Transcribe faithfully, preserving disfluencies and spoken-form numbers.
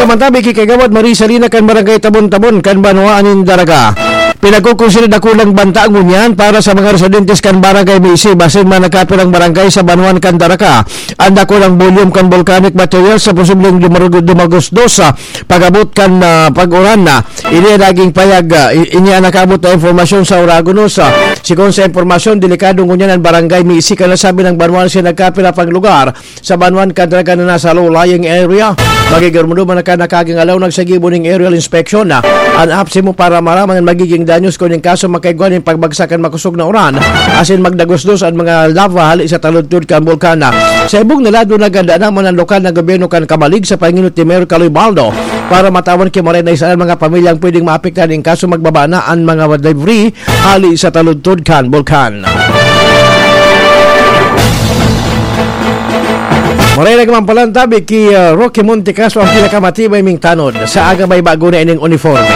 Mantabi ki Kagawad Marie Salina kan Barangay Tabon-Tabon kan Banwaan nin Daraga. Pinagkukonsidera dakulang banta ngunyan para sa mga residentes kan Barangay Misi, basin man nagkapirang barangay sa Banwaan kan Daraga. Ang dakulang volume kan volcanic material sa posibleng dumarug-, dumagos-dos, ah, pag-abot kan, ah, pag-uran na. Ini ang naging payag, ah, i-, ini ang nakaabot na impormasyon sa Oragonos, ah. Sigon sa impormasyon, delikado ngunyan ang Barangay Misi, kan nasabi ng Banwaan sa nagkapira pang lugar sa Banwaan kan Daraga na nasa low-lying area. Magigirmudo man ka nakaging alaw nagsagibo ning aerial inspection na an apsi mo para maraman ang magiging danyos kuning kaso makaigwa ning pagbagsak kan makosog na uran asin magdagos-dos an mga lava hali sa taludtod kan bulkan. Sa ibong na lado, naganda naman ang lokal na gobyerno kan Camalig sa panginot ni Mayor Kaloy Baldo para matawan ki maray na isa ang mga pamilyang pwedeng maapektahan ning kaso magbaba na an mga debris hali sa taludtod kan bulkan. Maray na man pala ang tabi ki, ah, Rocky Montecastro ang pinakamatibay ming tanod. Sa aga may bago na ining uniforme.